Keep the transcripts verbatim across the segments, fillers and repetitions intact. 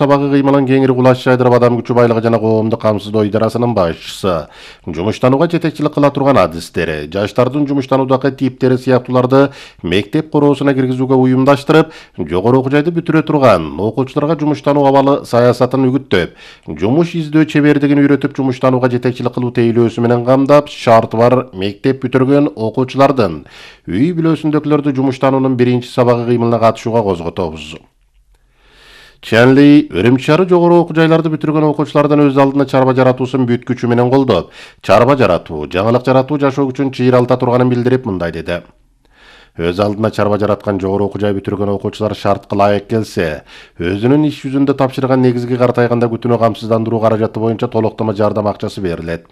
Сабагы кыймылын кеңири кулаш жайдырып адам күчү байлыгы жана коомдук камсыздоо идарасынын башчысы. Жумуштанууга жетекчилик кыла турган адистери, жаштардын жумуштануудагы типтери сыяктууларды мектеп короосуна киргизүүгө уюмдаштырып, жогору окуу жайды бүтүрө турган окуучуларга жумуштануу абалы саясатын үгүттөп, жумуш издөө чебердигин үйрөтүп жумуштанууга жетекчилик кылуу тейлөөсү менен камдап, шарты бар мектеп бүтүргөн окуучулардын үй бүлөсүндөгүлөрдү жумуштануунун биринчи сабагы кыймылына катышууга козготобуз. Ченли Үрүмчү шаары жогору окуу жайларды бүтүргөн окуучулардан өз алдына чарба жаратуусун бүт күчү менен колдоп, чарба жаратуу, жаңылык жаратуу жашоо үчүн чыйралта турганын билдирип мындай деди. Өз алдына чарба жараткан жогору окуу жай бүтүргөн окуучулар шартка ылайык келсе, өзүнүн иш жүзүндө тапшырган негизги картайганда күтүүнү камсыздандыруу каражаты боюнча толуктама жардам акчасы берилет.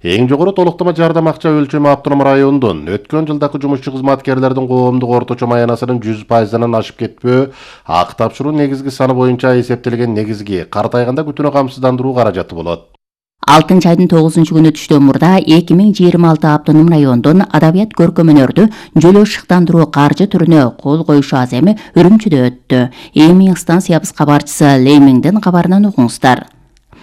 Эң жогору толуктама жардам акча өлчөмү автоном райондун өткөн жылдагы жумушчу кызматкерлердин коомдук орточо маянасынын жүз пайызынан ашып кетпөө, ак тапшыруу негизги саны боюнча эсептелген негизги картайганда күтүүнү камсыздандыруу каражаты болот. алтынчы айдын тогузунчу күнү түштөн мурда эки миң жыйырма алты автоном райондун адабият көркөм өнөрдү жөлөө шыктандыруу каржы түрүнө кол коюшу аземи Үрүмчүдө өттү. Эми станциябыз кабарчысы Леймиңдин кабарынан угуңуздар.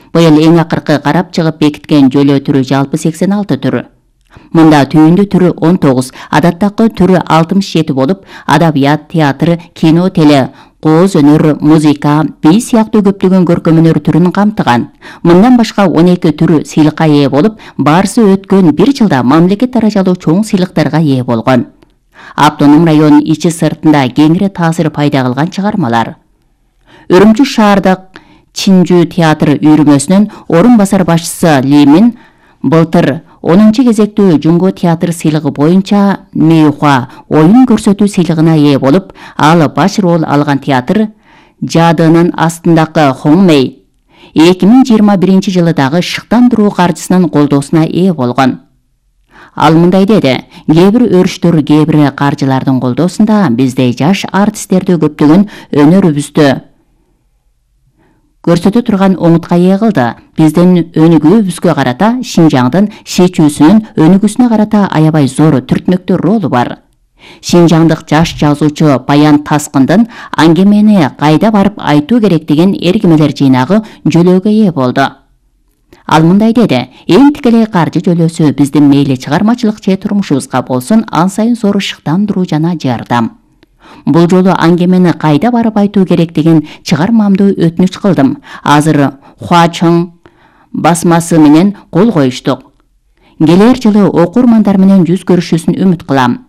Быйыл эң акыркы карап чыгып бекиткен жөлөө түрү жалпы сексен алты түрү. Мында түйүндү түрү он тогуз, адаттагы түрү алтымыш жети болуп, адабият, театр, кино, теле, кооз өнөр, музыка, би сыяктуу көптөгөн көркөм өнөр түрүн камтыган. Мындан башка он эки түрү сыйлыкка ээ болуп, баарысы өткөн бир жылда мамлекет даражалуу чоң сыйлыктарга ээ болгон. Автоном район ичи сыртында кеңири таасир пайда кылган чыгармалар. Үрүмчү шаардык Чинжүү театр үйрүмөсүнүн орун басар башчысы Лимин былтыр онунчу кезектүү Жунго театр сыйлыгы боюнча Мейхуа оюн көрсөтүү сыйлыгына ээ болуп, ал баш роль алган театр Жадынын астындагы Хоңмей эки миң жыйырма биринчи жылы дагы шыктандыруу каржысынын колдоосуна ээ болгон. Ал мындай деди: кээ бир өрүштөр, кээ бир каржылардын колдоосунда бизде жаш артисттерди көптөгөн өнөрүбүздү көрсөтө турган оңутка ээ кылды. Биздин өнүгүүбүзгө карата Шинжаңдын чечүүсүнүн өнүгүүсүнө карата аябай зор түртмөктүү ролу бар. Шинжаңдык жаш жазуучу Баян Таскындын аңгемени кайда барып айтуу керек деген эргимелер жыйнагы жөлөөгө ээ болду. Ал мындай деди: эң тикелей каржы жөлөөсү биздин мейли чыгармачылык же турмушубузга болсун ан сайын зор шыктандыруу жана жардам. Бул жолу аңгемени кайда барып айтуу керек деген чыгармамды өтүнүч кылдым. Азыр Хуачың басмасы менен кол коюштук. Келер жылы окурмандар менен жүз көрүшүүсүн үмүт кылам.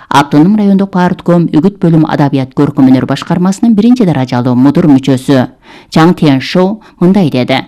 Автоном райондук партком үгүт бөлүм адабият көркөм өнөр башкармасынын биринчи даражалуу мудур мүчөсү Чаң Тен Шоу мындай деди: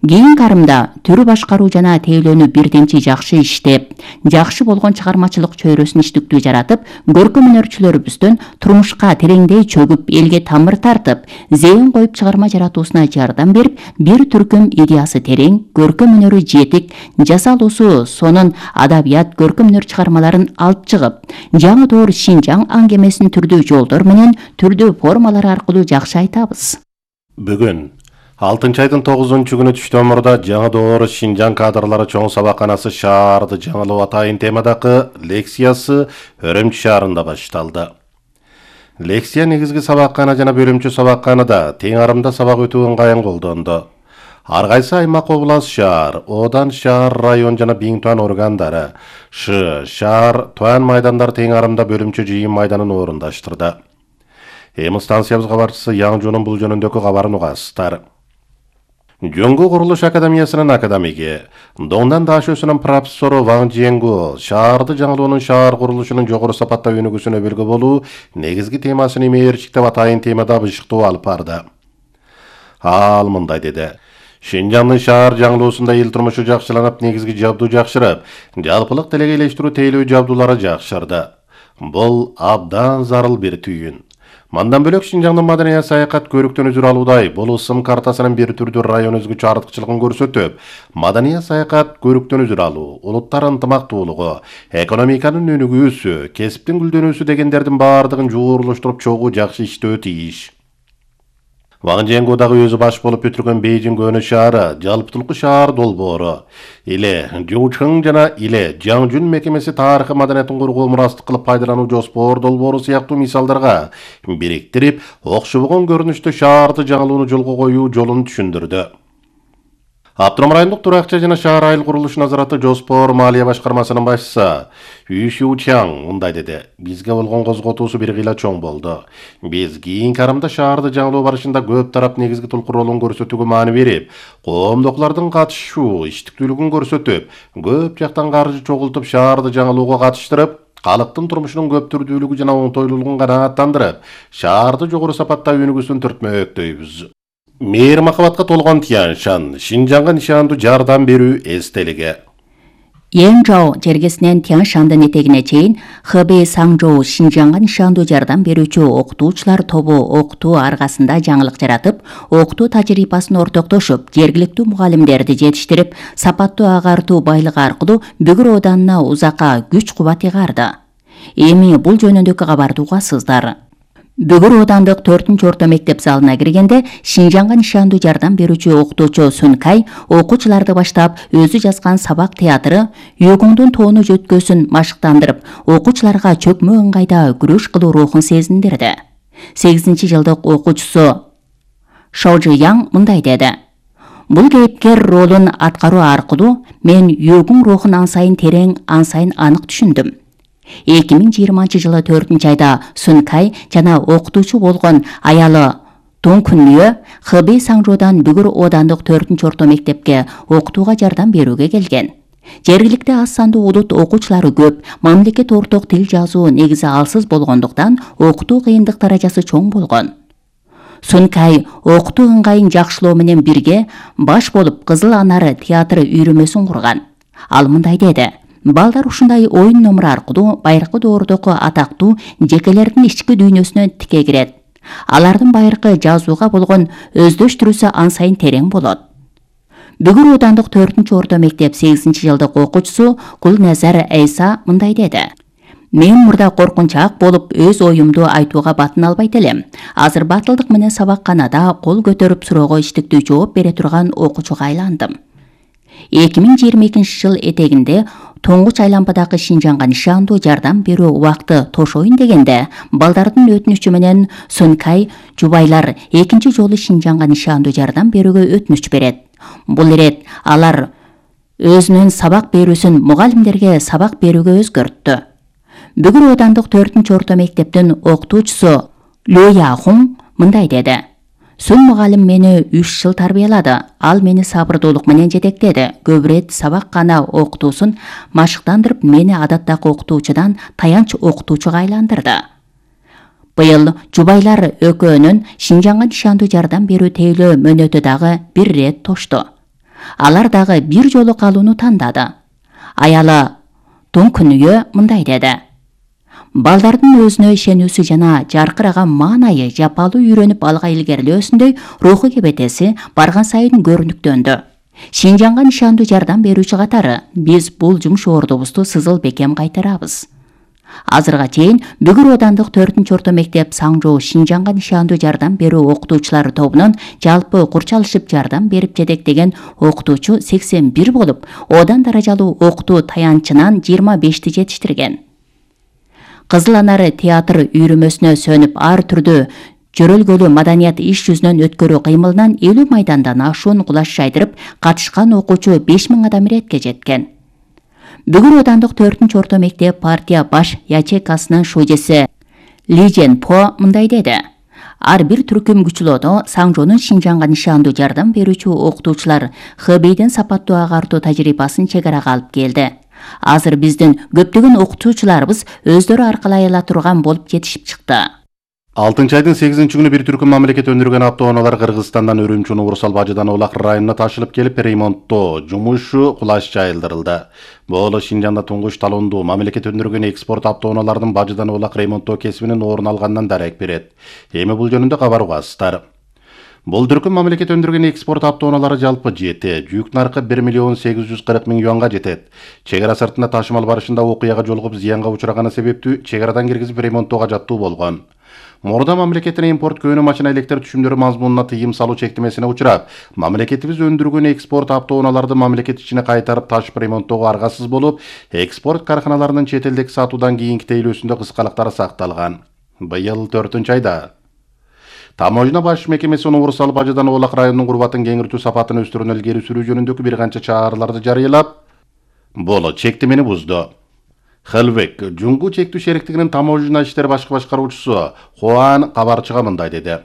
Кийин карымда түрү башкаруу жана тейлөөнү бирдемчи жакшы иштеп, жакшы болгон чыгармачылык чөйрөсүн иштиктүү жаратып, көркөм өнөрчүлөрүбүздүн турмушка тереңдей чөгүп, элге тамыр тартып, зээн коюп чыгарма жаратуусуна жардам берип, бир түркүм идеясы терең, көркөм өнөрү жетик, жасалуусу сонун адабият көркөм өнөр чыгармаларын алып чыгып, жаңы доор Шинжаң аңгемесин түрдүү жолдор менен, түрдүү формалар аркылуу жакшы айтабыз. Бүгүн алтынчы айдын тогузунчу күнү түштөн мурда жаңы доор Шинжаң кадрлары чоң сабакканасы шаарды жаңылоо атайын темадагы лекциясы Үрүмчү шаарында башталды. Лекция негизги сабаккана жана бөлүмчү сабакканада тең арымда сабак өтүү ыңгайын колдонду. Ар кайсы аймак, област, шаар, одан шаар, район жана Биң Туан органдары, Ш, шаар, Туан майдандар тең арымда бөлүмчү жыйын майданын орундаштырды. Эми станциябыз кабарчысы Яңжунун бул жөнүндөгү кабарын угасыздар. Жөнгө курулуш академиясынын академиги, Дондан Дашөсүнүн профессору Ваң Жиенгу шаарды жаңылоонун шаар курулушунун жогору сапатта өнүгүүсүнө белги болуу негизги темасын мээрчиктеп атайын темада бышыктоо алып барды. Ал мындай деди: Шинжаңдын шаар жаңылоосунда эл турмушу жакшыланып, негизги жабдуу жакшырып, жалпылык делегейлештирүү тейлөө жабдуулары жакшырды. Бул абдан зарыл бир түйүн. Мандан бөлөк Шинжаңдын маданият саякат көрүктөн үзүр алуудай бул ысым картасынын бир түрдүү район өзгөчө артыкчылыгын көрсөтүп, маданият саякат көрүктөн үзүр алуу, улуттар ынтымактуулугу, экономиканын өнүгүүсү, кесиптин гүлдөнүүсү дегендердин баардыгын жуурулуштуруп чогуу жакшы иштөө тийиш. Ван Жиэнго дагы өзү баш болуп бүтүргөн Бейжиң өнө шаары, жалпытылкы шаар долбоору. Иле Жучың жана Иле Жаңжүн мекемеси тарыхый маданиятын коргоо мурастык кылып пайдалануу жоспор долбоору сыяктуу мисалдарга бириктирип, окшобогон көрүнүштө шаарды жаңылууну жолго коюу жолун түшүндүрдү. Автоном райондук туракча жана шаар айыл курулуш назараты жоспор малия башкармасынын башчысы Ю Шучаң мындай деди: бизге болгон козготуусу бир кыйла чоң болду. Биз кийинки арымда шаарды жаңылоо барышында көп тарап негизги толку ролун көрсөтүүгө маани берип, коомдоклордун катышуу иштиктүүлүгүн көрсөтүп, көп жактан каржы чогултуп шаарды жаңылууга катыштырып, калктын турмушунун көптүрдүүлүгү жана оңтойлуулугун канааттандырып, шаарды жогору сапатта өнүгүүсүн түртмөктөйбүз. Мейир махабатка толгон Тянь Шань, Шинжаңга нишандуу жардам берүү эстелиги. Янчжоу жергесинен Тянь Шандын этегине чейин Хэбэй Саңжоу Шинжаңга нишандуу жардам берүүчү окутуучулар тобу окутуу аргасында жаңылык жаратып, окутуу тажрыйбасын ортоктошуп, жергиликтүү мугалимдерди жетиштирип, сапаттуу агартуу байлыгы аркылуу Бүгүр Оданына узакка күч кубат ыгарды. Эми бул жөнүндөгү кабарды угасыздар. Бүгүр Оодандык төртүнчү орто мектеп залына киргенде Шинжаңга нишандуу жардам берүүчү окутуучу Сун Кай окуучуларды баштап өзү жазган сабак театры Югуңдун тоону жөткөсүн машыктандырып, окуучуларга чөкмө ыңгайда күрөш кылуу рухун сезиндирди. сегизинчи жылдык окуучусу Шоужи Яң мындай деди: бул кейипкер ролун аткаруу аркылуу мен Югуң рухун ан сайын терең, ан сайын анык түшүндүм. эки миң жыйырманчы жылы төртүнчү айда Сун Кай жана окутуучу болгон аялы Дон Күнү Хэбэй Саңжоудан Бүгүр Оодандык төртүнчү орто мектепке окутууга жардам берүүгө келген. Жергиликте аз сандуу улут окуучулары көп, мамлекет орток тил жазуу негизи алсыз болгондуктан окутуу кыйындык даражасы чоң болгон. Сун Кай окутуу ыңгайын жакшылоо менен бирге баш болуп Кызыл Анары театры үйрөмөсүн курган. Ал мындай деди: балдар ушундай оюн номур аркылуу байыркы доордогу атактуу жекелердин ички дүйнөсүнө тике кирет. Алардын байыркы жазууга болгон өздөштүрүүсү ан сайын терең болот. Бүгүр Оодандык төртүнчү орто мектеп сегизинчи жылдык окуучусу Гулназар Эйса мындай деди: мен мурда коркунчаак болуп өз оюмду айтууга батын албайт элем. Азыр батылдык менен сабакканада кол көтөрүп суроого иштиктүү жооп бере турган окуучуга айландым. эки миң жыйырма экинчи жыл этегинде Тоңгуч айланбадагы Шинжаңга нишандуу жардам берүү убакты тошоюн дегенде, балдардын өтүнүчү менен Сун Кай жубайлар экинчи жолу Шинжаңга нишандуу жардам берүүгө өтүнүч берет. Бул ирет алар өзүнүн сабак берүүсүн мугалимдерге сабак берүүгө өзгөрттү. Бүгүр Оодандык төртүнчү орто мектептин окутуучусу Лю Яхун мындай деди: Сун мугалим мени үч жыл тарбиялады. Ал мени сабырдуулук менен жетектеди. Көп ирет сабак гана окутуусун машыктандырып, мени адаттагы окутуучудан таянч окутуучуга айландырды. Быйыл жубайлар экөөнүн Шинжаңга нишандуу жардам берүү тейлөө мөөнөтү дагы бир ирет тошту. Алар дагы бир жолу калууну тандады. Аялы Дон Күнү мындай деди: балдардын өзүнө ишенүүсү жана жаркыраган маанайы жапалуу үйрөнүп алга илгерилөөсүндөй руху кебетеси барган сайын көрүнүктөндү. Шинжаңга нишандуу жардам берүүчү катары биз бул жумуш ордубузду сызыл бекем кайтарабыз. Азырга чейин Бүгүр Оодандык төртүнчү орто мектеп Саңжоу Шинжаңга нишандуу жардам берүү окутуучулары тобунун жалпы курчалышып жардам берип жетектеген окутуучу сексен бир болуп, Одан даражалуу окутуу таянчынан жыйырма бешти жетиштирген. Кызыл Анары театр үйрөмөсүнө сөнүп ар түрдүү жөрөлгөлүү маданият иш жүзүнөн өткөрүү кыймылынан элүү майдандан ашуун кулаш жайдырып, катышкан окуучу беш миң адам иретке жеткен. Бүгүр Оодандык төртүнчү орто мектеп партия баш ячейкасынын шужеси Ли Жен По мындай деди: ар бир түркүм күчүлөдө Саңжоонун Шинжаңга нишандуу жардам берүүчү окутуучулар Хэбэйдин сапаттуу агартуу тажрыйбасын чегарага алып келди. Азыр биздин көптөгөн окутуучуларыбыз өздөрү аркалай ала турган болуп жетишип чыкты. алтынчы айдын сегизинчи күнү бир түркүм мамлекет өндүргөн автоунаалар Кыргызстандан Үрүмчү Урусал Бажыдан Улак районуна ташылып келип, ремонттоо жумушу кулаш жайылдырылды. Бул Шинжаңда туңгуч талондуу мамлекет өндүргөн экспорт автоунаалардын Бажыдан Улак ремонттоо кесибинин орун алганынан дарек берет. Эми бул жөнүндө кабар угасыздар. Бул түркүм мамлекет өндүргөн экспорт автоунаалары жалпы жети, жүк наркы бир миллион сегиз жүз кырк миң юанга жетет. Чегара сыртында ташымал барышында окуяга жолугуп зыянга учураганы себептүү чегарадан киргизип ремонттоого жаттуу болгон. Мурда мамлекеттин импорт көөнө машина электр түшүмдөрү мазмунуна тыйым салуу чектемесине учурап, мамлекетибиз өндүргөн экспорт автоунааларды мамлекет ичине кайтарып ташып ремонттоого аргасыз болуп, экспорт карканаларынын чет элдеги сатуудан кийинки тейлөөсүндө кыскалыктар сакталган. Быйыл төртүнчү айда Таможня баш мекемеси универсал бажадан Оолак районунун курбатын кеңиртүү сапатын өстүрүүнү илгери сүрүү жөнүндөгү бир канча чараларды жарыялап, бул чектемени бузду. Хелбек Жуңгу чектүү шериктигинин таможня иштер башкы башкаруучусу Хуан кабарчыга мындай деди.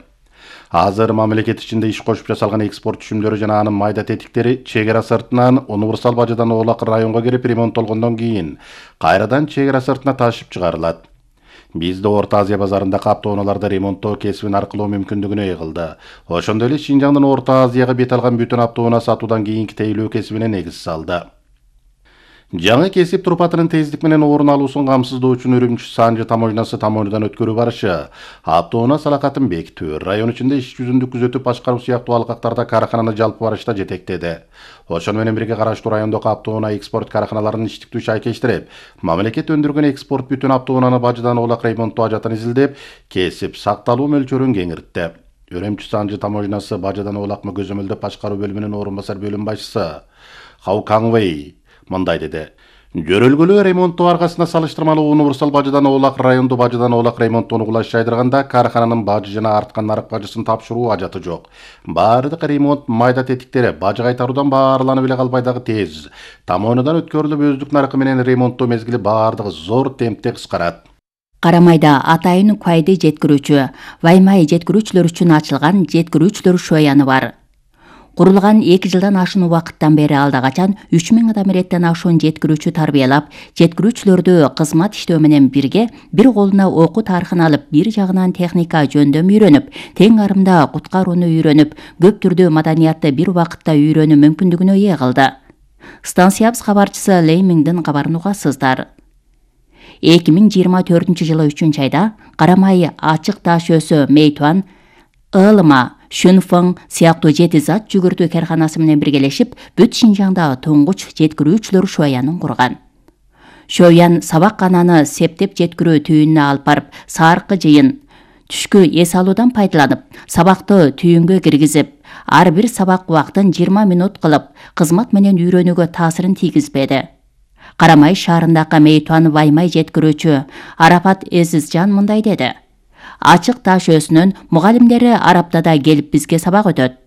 Азыр мамлекет ичинде иш кошуп жасалган экспорт түшүмдөрү жана анын майда тетиктери чек ара сыртынан универсал бажадан Оолак районго кирип ремонттолгондон кийин кайрадан чек ара сыртына ташып чыгарылат. Бизде Орто Азия базарындагы автоунааларды ремонттоо кесибин аркылоо мүмкүндүгүнө ээ кылды. Ошондой эле Шинжаңдын Орто Азияга бет алган бүтүн автоунаа сатуудан кийинки тейлөө кесибине негиз салды. Жаңы кесип турпатынын тездик менен орун алуусун камсыздоо үчүн Үрүмчү Санжы таможнясы тамоожнадан өткөрүү барышы, автоунаа салакатын бекитүү, район ичинде иш жүзүндү күзөтүп башкаруу сыяктуу алкактарда каркананы жалпы барышта жетектеди. Ошону менен бирге караштуу райондогу автоунаа экспорт карканаларынын иштиктүү шайкештирип, мамлекет өндүргөн экспорт бүтүн автоунааны бажадан Оолак ремонттоо ажатын изилдеп, кесип сакталуу мөлчөрүн кеңиртти. Үрүмчү Санжы таможнясы бажадан Оолакмы көзөмөлдөп башкаруу бөлүмүнүн орун басар бөлүм башчысы Хау Каңвей мындай деди. Жөрөлгөлүү ремонттоо аргасында салыштырмалуу универсал бажадан Оолак райондо бажадан Оолак ремонттоону кулаш жайдырганда каркананын бажы жана арткан нарык бажысын тапшыруу ажаты жок. Баардык ремонт майда тетиктери бажы кайтаруудан баарланып эле калбай дагы тез. Тамоонудан өткөрүлүп өздүк наркы менен ремонттоо мезгили баардыгы зор темпте кыскарат. Карамайда атайын Куайды жеткирүүчү, Ваймай жеткирүүчүлөр үчүн ачылган жеткирүүчүлөр шояны бар. Курулган эки жылдан ашуун убакыттан бери алда качан үч миң адам иреттен ашуун жеткирүүчү тарбиялап, жеткирүүчүлөрдү кызмат иштөө менен бирге бир колуна окуу тарыхын алып, бир жагынан техника жөндөм үйрөнүп, тең арымда куткарууну үйрөнүп, көп түрдүү маданиятты бир убакытта үйрөнүү мүмкүндүгүнө ээ кылды. Станциябыз кабарчысы Леймиңдин кабарын угасыздар. эки миң жыйырма төртүнчү жылы үчүнчү айда Карамай ачык таш өсө Мейтуан, Ылыма, Шүнфың сыяктуу жети зат жүгүртүү карканасы менен биргелешип, бүт Шинжаңда туңгуч жеткирүүчүлөр шоянын курган. Шоян сабак кананы септеп жеткирүү түйүнүнө алып барып, саркы жыйын, түшкү эс алуудан пайдаланып, сабакты түйүнгө киргизип, ар бир сабак убактын жыйырма минут кылып, кызмат менен үйрөнүүгө таасирин тийгизбеди. Карамай шаарындагы Мейтуан Ваймай жеткирүүчү Арапат Эзизжан мындай деди. Ачык таш өсүнүн мугалимдери Араптада келип бизге сабак өтөт.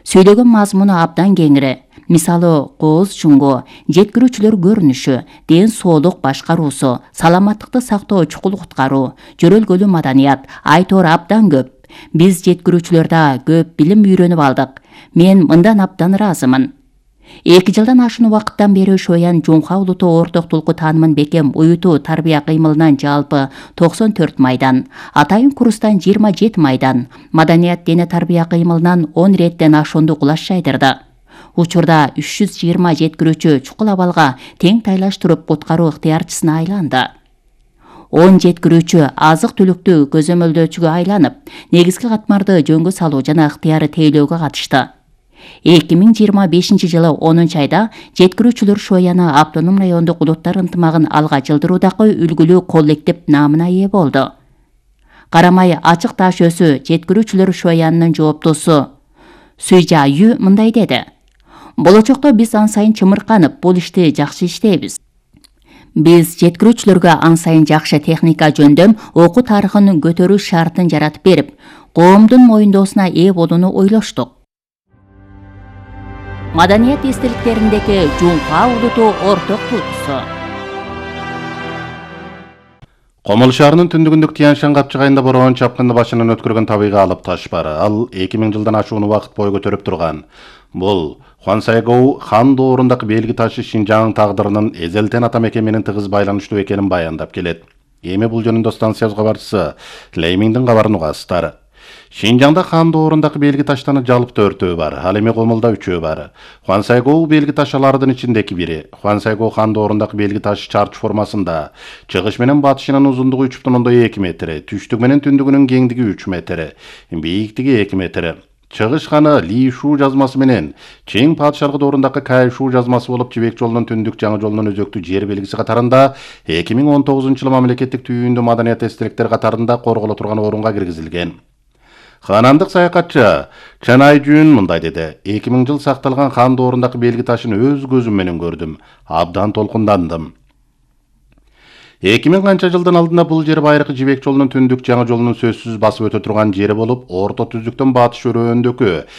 Сүйлөгөн мазмуну абдан кеңири. Мисалы, кооз жуңгу, жеткирүүчүлөр көрүнүшү, ден соолук башкаруусу, саламаттыкты сактоо чукул куткаруу, жөрөлгөлүү маданият, айтор абдан көп. Биз жеткирүүчүлөрдө көп билим үйрөнүп алдык. Мен мындан абдан ыраазымын. эки жылдан ашуун убакыттан бери Шоян Жумха улуттуу орток тулку таанымын бекем уютуу тарбия кыймылынан жалпы токсон төрт майдан, атайын курстан жыйырма жети майдан, маданият дене тарбия кыймылынан он реттен ашуунду кулаш жайдырды. Учурда үч жүз жыйырма жеткирүүчү чукул абалга тең тайлаштырып куткаруу ыктыярчысына айланды. он жеткирүүчү азык түлүктү көзөмөлдөөчүгө айланып, негизги катмарды жөнгө салуу жана ыктыяры тейлөөгө катышты. эки миң жыйырма бешинчи жылы онунчу айда жеткирүүчүлөр шояны автоном райондук улуттар ынтымагын алга жылдыруудагы үлгүлүү коллектив наамына ээ болду. Карамай ачык таш өсү жеткирүүчүлөр шоянынын жооптусу Суйжа Ю мындай деди. Болочокто биз ан сайын чымырканып, бул ишти жакшы иштейбиз. Биз жеткирүүчүлөргө ан сайын жакшы техника жөндөм, окуу тарыхын көтөрүү шартын жаратып берип, коомдун моюндоосуна ээ болууну ойлоштук. Маданият эстеликтериндеги Жумха улуттуу орток тулкусу. Комол шаарынын түндүгүндөгү Тяньшан капчыгайында бороон чапкынды башынан өткөргөн табыйга алып таш бар. Ал эки миң жылдан ашуун убакыт бою көтөрүп турган. Бул Хвансайгоу хан доорундагы белги ташы Шинжаң тагдырынын эзелтен ата мекенинин тыгыз байланыштуу экенин баяндап келет. Эми бул жөнүндө станциябыз кабарчысы Леймиңдин кабарын угасыздар. Шинжаңда хан доорундагы белги таштаны жалып төртөө бар, ал эми Комулда үчөө бар. Хвансайгоу белги ташалардын ичиндеги бири. Хвансайгоу хан доорундагы белги ташы чарч формасында. Чыгыш менен батышынын узундугу үч бүтүн ондон эки метр, түштүк менен түндүгүнүн кеңдиги үч метр, бийиктиги эки метр. Чыгыш ханы Ли Шу жазмасы менен Чең падышалыгы доорундагы Кай Шу жазмасы болуп Жибек жолунун түндүк жаңы жолунун өзөктүү жер белгиси катарында эки миң он тогузунчу жылы мамлекеттик түйүндүү маданият эстеликтер катарында корголо турган орунга киргизилген. Ханандык саякатчы Чан Айжүн мындай деди: эки миң жыл сакталган хан доорундагы белги ташын өз көзүм менен көрдүм. Абдан толкундандым. эки миң канча жылдын алдында бул жер байыркы Жибек жолунун түндүк жаңы жолунун сөзсүз басып өтө турган жери болуп, орто түздүктөн батыш өрөөндөгү